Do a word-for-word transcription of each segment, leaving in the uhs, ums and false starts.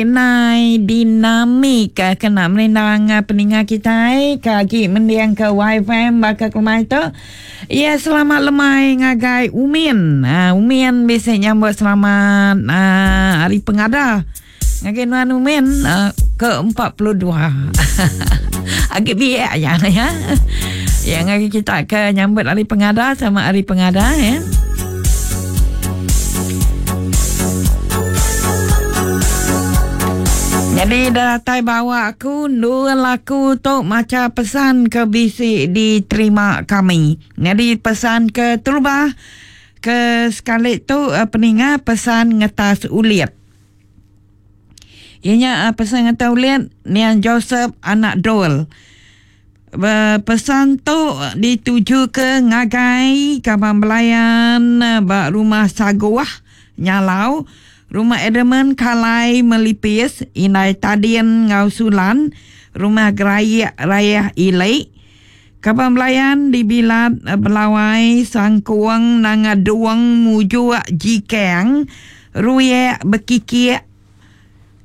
Nai dinamik kena merindang peninga kita kagi mendiang ke Y F M baka kelmai tu. Ya, selamat lemai ngagai Umin. Uh, Umin bisa nyambut selamat uh, hari pengada. Ngagai Nuan Umin uh, ke empat puluh dua. Agak biak ya ya. Ya ngagai kita ke nyambut hari pengada sama hari pengada ya. Jadi datai bawa aku dua laku tu maca pesan ke bisi diterima kami. Jadi pesan ke terubah ke sekali tu peninga pesan ngetas ulit. Ianya pesan ngetas ulit Nian Joseph anak Dol. Pesan tu dituju ke ngagai kaban belayan ba rumah Saguah Nyalau. Rumah Edelman Kalai Melipis, Inai Tadin Ngau Sulan, Rumah Gerayak Rayah Ilek, Kaban Belayan di Bilat Belawai, Sangkuang Nanga Duang Mujuak Jikang, Ruyak Bekikiak,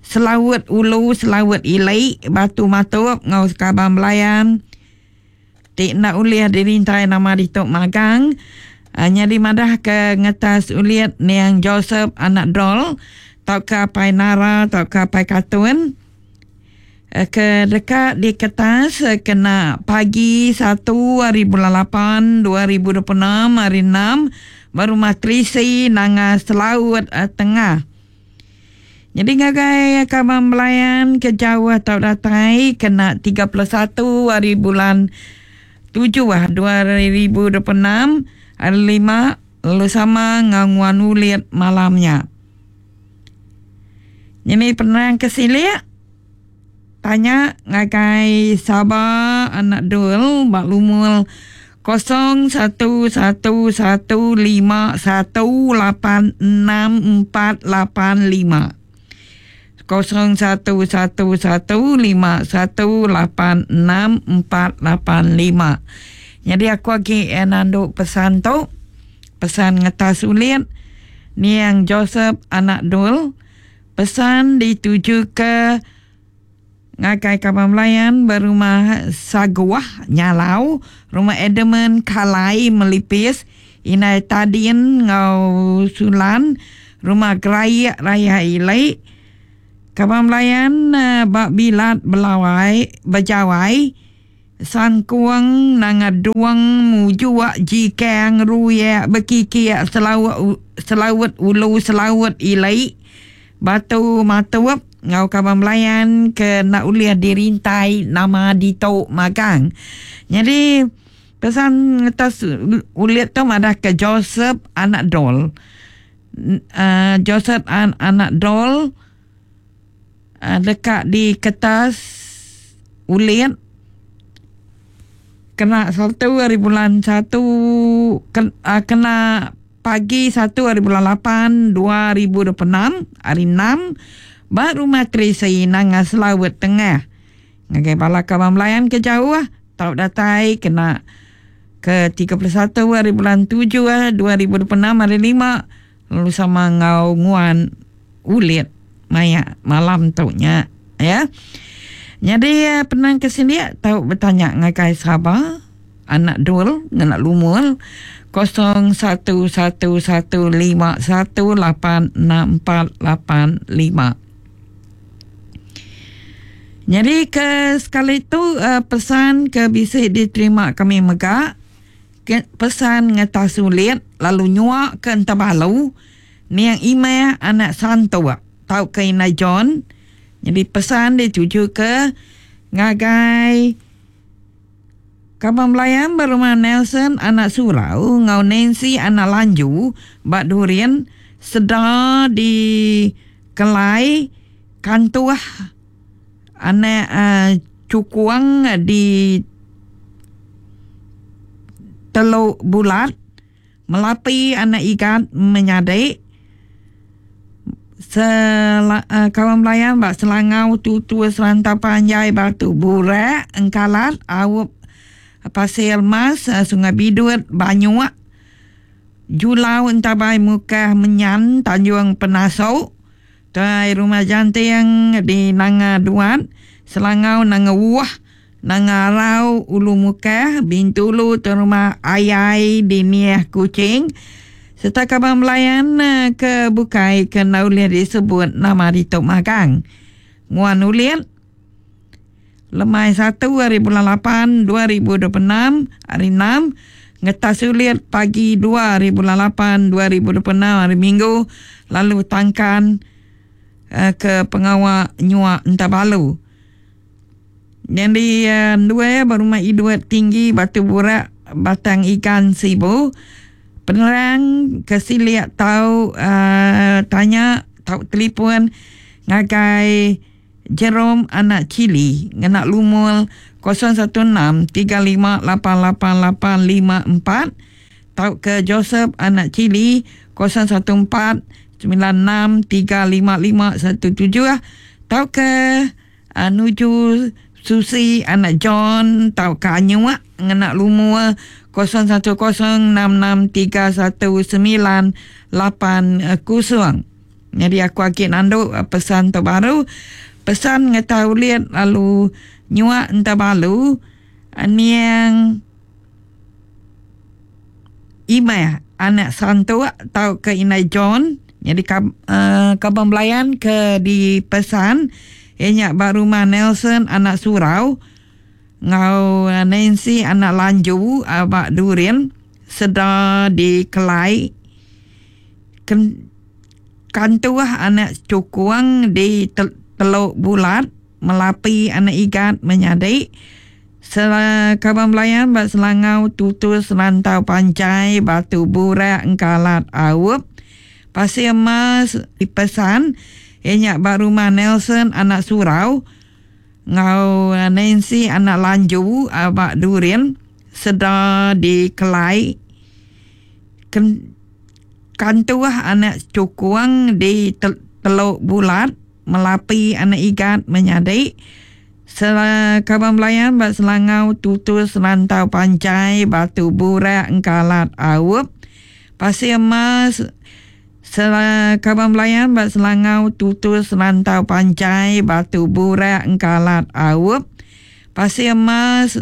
Selawut Ulu, Selawut Ilek, Batu Matup, Ngau Kaban Belayan, Tik nak uliah dirintai nama ditok magang. Hanya dimadah ke ngetas uliat Niang Joseph anak Dol tau ke pai Nara tau ke pai Katun ke dekat di kertas kena pagi satu hari bulan lapan dua ribu dua puluh enam hari enam baru matrisi nanga Selaut Tengah. Jadi ngagai kaban belayan ke jauh tau datai kena tiga puluh satu hari bulan tujuh dua ribu dua puluh enam hari lima lalu sama nganguan ulit malamnya. Ini penerang kesiliak tanya ngagai Sabah anak Dul bak lumul kosong satu satu satu lima satu lapan enam empat lapan lima kosong satu satu satu lima satu lapan enam empat lapan lima. Jadi aku lagi eh, nanduk pesan tu, pesan ngetas ulit Niang Joseph anak Dul, pesan dituju ke ngagai kaban belayan berumah Saguah Nyalau, rumah Edelman Kalai Melipis, Inai Tadin Ngau Sulan, rumah Gerayak Raya Ilek, kaban belayan uh, Bak Bilat Belawai Bejawai, Sangkuang Nanga Duang Mujuak Jikang Ruyak Bekikiak Selawat Selawat Ulu Selawat Ilai Batu Matup ngau kaban belayan ke nak uliah dirintai nama ditok magang. Jadi pesan atas uliat tu ada ke Joseph anak Dol. Uh, Joseph an, anak Dol uh, dekat di kertas uliat kena satu hari bulan satu kena pagi satu hari bulan lapan dua ribu dua puluh enam hari enam baru matrisi nanga Selawut Tengah. Ngagai bala kaban belayan ke jauh tau datai kena ke tiga puluh satu hari bulan tujuh dua ribu dua puluh enam hari lima lalu sama ngau nguan ulit maya malam taunya ya. Jadi penang ke sini tahu bertanya ngagai Sabah anak Dul nganak lumul kosong satu satu satu lima satu lapan enam empat lapan lima. Jadi ke sekali tu pesan ke bisa diterima kami megak ke pesan ngetas sulit lalu nyuak ke entabalu niang Imeh anak Santo tau ke Ina John. Jadi pesan dituju ke ngagai kaban belayan berumah Nelson anak Surau ngau Nancy anak Lanju bak Durian sedar di Kelai Kantuah anak uh, Cukuang di Teluk Bulat Melapi anak Ikat Menyadek Sel, uh, kawan belayan bak Selangau Tutu Serantau Panjai Batu Burak Engkalat Awup Pasir Mas uh, Sungai Bidut Banyuak Julau Entabai Mukah Menyan Tanjung Penasau Tuai Rumah Janting di Nanga Duat, Selangau Nanga Wuah, Nanga Arau Ulu Mukah, Bintulu Tuai Rumah Ayai di Niah Kuching. Serta kaban belayan ke bukai ke enda ulih disebut nama ditu magang. Nguan ulit lemai satu hari bulan lapan dua ribu dua puluh enam hari enam, ngetas ulit pagi dua hari bulan lapan dua ribu dua puluh enam hari Minggu, lalu tangkan uh, ke pengawa nyuak entabalu. Jadi uh, dua berumah Idwat Tinggi Batu Burak Batang Ikan Sibu. Penerang ke siliak tau uh, tanya tau telefon ngagai Jerome anak Cili ngena lumul kosong satu enam tiga lima lapan lapan lapan lima empat tau ke Joseph anak Cili kosong satu empat sembilan enam tiga lima lima satu tujuh tau ke uh, nuju Susi anak John tau ke Anyuak ngena lumul kosong satu kosong enam enam tiga satu sembilan lapan kosong. Jadi aku agak nanduk pesan terbaru. Pesan ngetau liat lalu nyuak entabalu niang Imah anak santuk tau ke Inai John. Jadi kab, uh, kabang belayan ke di pesan ianya ba rumah Nelson anak Surau ngau Nancy anak Lanju abak Durin seda di Kelai Ken, Kantuah anak Cukuang di tel, Teluk Bulat Melapi anak Igat menyadik Sela kabang belayan bak Selangau Tutus Rantau Pancai Batu Burak Engkalat Aup Pasir Mas dipesan ianya ba rumah Nelson anak Surau ngau Nancy anak Lanju abak Durin seda di Kelai Ken, Kantuah anak Cukuang di tel, Teluk Bulat Melapi anak Igat menyadik Sela kabang belayan bak Selangau Tutus Rantau Pancai Batu Burak Engkalat Aup Pasir Mas Sela kabang belayan bak Selangau Tutus Rantau Pancai Batu Burak Engkalat Aup Pasir Mas